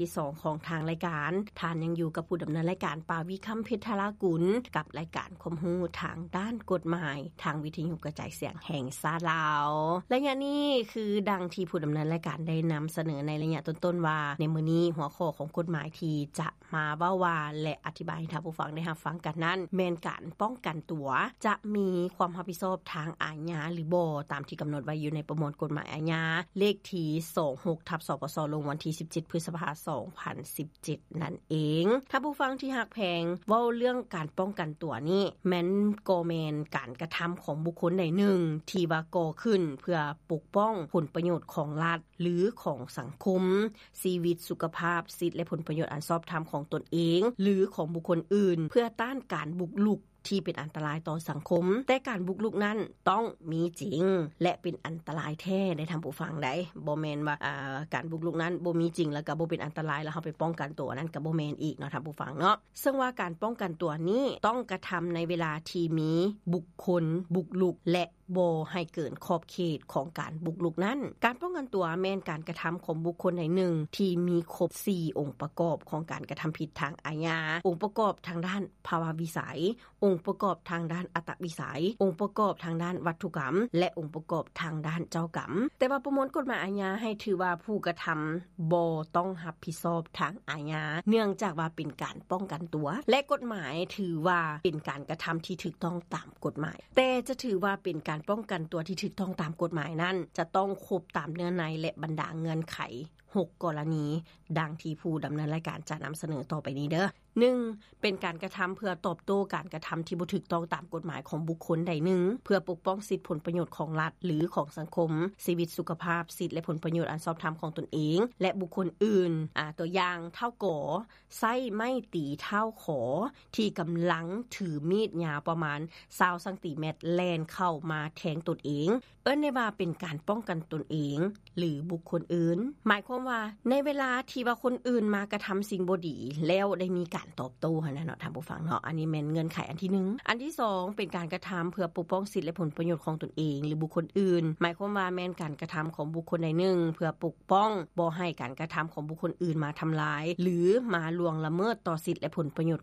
ທີສອງຂອງທາງລາຍການ. ທ່ານຍັງຢູ່ກັບຜູ້ດຳເນີນລາຍການ ປາວິຄຳ ເພັດທະລາກຸນ ກັບລາຍການຄວາມຮູ້ທາງດ້ານກົດໝາຍ ທາງວິທະຍຸກະຈາຍສຽງແຫ່ງຊາດລາວ. ໄລຍະນີ້ຄືດັ່ງທີ່ຜູ້ດຳເນີນລາຍການໄດ້ນຳສະເໜີໃນໄລຍະຕົ້ນໆວ່າ ໃນມື້ນີ້ຫົວຂໍ້ຂອງກົດໝາຍທີ່ຈະມາເວົ້າວ່າ ແລະ ອະທິບາຍໃຫ້ທ່ານຜູ້ຟັງໄດ້ຮັບຟັງກັນນັ້ນ ແມ່ນການປ້ອງກັນຕົວ ຈະມີຄວາມຮັບຜິດຊອບທາງອາຍາຫຼືບໍ່ ຕາມທີ່ກຳນົດໄວ້ຢູ່ໃນປະມວນກົດໝາຍອາຍາ ເລກທີສອງຫົກ ທັບ ສປສ ລົງວັນທີສິບເຈັດ ພຶດສະພາ ສອງພັນສິບເຈັດ ນັ້ນເອງ. ທ່ານຜູ້ຟັງທີ່ຮັກແພງ, ເວົ້າເລື່ອງການປ້ອງກັນຕົວນີ້ ແມ່ນກໍແມ່ນການກະທຳຂອງບຸກຄົນໃດໜຶ່ງ ທີ່ວ່າກໍ່ຂຶ້ນເພື່ອປົກປ້ອງຜົນປະໂຫຍດຂອງລັດ ຫຼື ຂອງສັງຄົມ, ຊີວິດ, ສຸຂະພາບ, ສິດ ແລະ ຜົນປະໂຫຍດອັນຊອບທຳຂອງຕົນເອງ ຫຼື ຂອງບຸກຄົນອື່ນ ເພື່ອຕ້ານການບຸກລຸກ ທີ່ເປັນອັນຕະລາຍຕໍ່ສັງຄົມ, ແຕ່ການບຸກລຸກນັ້ນຕ້ອງມີຈິງ ແລະ ເປັນອັນຕະລາຍແທ້ໄດ໋ທ່ານຜູ້ຟັງໄດ໋. ບໍ່ແມ່ນວ່າ ອາ ການບຸກລຸກນັ້ນບໍ່ມີຈິງ ແລ້ວກໍບໍ່ເປັນອັນຕະລາຍ ແລ້ວເຮົາໄປປ້ອງກັນຕົວ ອັນນັ້ນກໍບໍ່ແມ່ນອີກເນາະທ່ານຜູ້ຟັງເນາະ. ເຊິ່ງວ່າການປ້ອງກັນຕົວນີ້ຕ້ອງກະທຳໃນເວລາທີ່ມີບຸກຄົນບຸກລຸກ ແລະ ບໍ່ໃຫ້ເກີນຂອບເຂດຂອງການບຸກລຸກນັ້ນ. ການປ້ອງກັນຕົວແມ່ນການກະທຳຂອງບຸກຄົນໃດໜຶ່ງທີ່ມີຄົບສີ່ອົງປະກອບຂອງການກະທຳຜິດທາງອາຍາ, ອົງປະກອບທາງດ້ານພາວະວິໄສ, ອົງປະກອບທາງດ້ານອັດຕະວິໄສ, ອົງປະກອບທາງດ້ານວັດຖຸກຳ ແລະ ອົງປະກອບທາງດ້ານເຈົ້າກຳ. ແຕ່ວ່າປະມວນກົດໝາຍອາຍາໃຫ້ຖືວ່າຜູ້ກະທຳບໍ່ຕ້ອງຮັບຜິດຊອບທາງອາຍາ ເນື່ອງຈາກວ່າເປັນການປ້ອງກັນຕົວ ແລະ ກົດໝາຍຖືວ່າເປັນການກະທຳທີ່ຖືກຕ້ອງຕາມກົດໝາຍ. ແຕ່ຈະຖືວ່າເປັນການປ້ອງກັນຕົວທີ່ຖືກຕ້ອງຕາມກົດໝາຍນັ້ນ ຈະຕ້ອງຄົບຕາມເນື້ອໃນ ແລະ ບັນດາເງື່ອນໄຂ ຫົກກໍລະນີ ດັ່ງທີ່ຜູ້ດຳເນີນລາຍການຈະນຳສະເໜີຕໍ່ໄປນີ້ເດີ້. ໜຶ່ງ ເປັນການກະທຳເພື່ອຕອບໂຕ້ການກະທຳທີ່ບໍ່ຖືກຕ້ອງຕາມກົດໝາຍຂອງບຸກຄົນໃດໜຶ່ງ ເພື່ອປົກປ້ອງສິດຜົນປະໂຫຍດຂອງລັດ ຫຼື ຂອງສັງຄົມ, ຊີວິດ, ສຸຂະພາບ, ສິດ ແລະ ຜົນປະໂຫຍດອັນຊອບທຳຂອງຕົນເອງ ແລະ ບຸກຄົນອື່ນ. ອາ ຕົວຢ່າງ ທ້າວ ກ ໃຊ້ໄມ້ຕີທ້າວ ຂ ທີ່ກຳລັງຖືມີດຍາວປະມານຊາວຊັງຕີແມັດແລ່ນເຂົ້າມາແທງຕົນເອງ. ເອີ້ນໄດ້ວ່າເປັນການປ້ອງກັນຕົນເອງ ຫຼື ບຸກຄົນອື່ນ. ໝາຍຄວາມວ່າໃນເວລາທີ່ວ່າຄົນອື່ນມາກະທຳສິ່ງບໍ່ດີ ແລ້ວໄດ້ມີການຕອບໂຕ້ຫັ້ນນະເນາະທ່ານຜູ້ຟັງເນາະ. ອັນນີ້ແມ່ນເງື່ອນໄຂອັນທີໜຶ່ງ. ອັນທີສອງ ເປັນການກະທຳເພື່ອປົກປ້ອງສິດ ແລະ ຜົນປະໂຫຍດຂອງຕົນເອງ ຫຼື ບຸກຄົນອື່ນ. ໝາຍຄວາມວ່າແມ່ນການກະທຳຂອງບຸກຄົນໃດໜຶ່ງ ເພື່ອປົກປ້ອງບໍ່ໃຫ້ການກະທຳຂອງບຸກຄົນອື່ນມາທຳລາຍ ຫຼື ມາລ່ວງລະເມີດຕໍ່ສິດ ແລະ ຜົນປະໂຫຍດ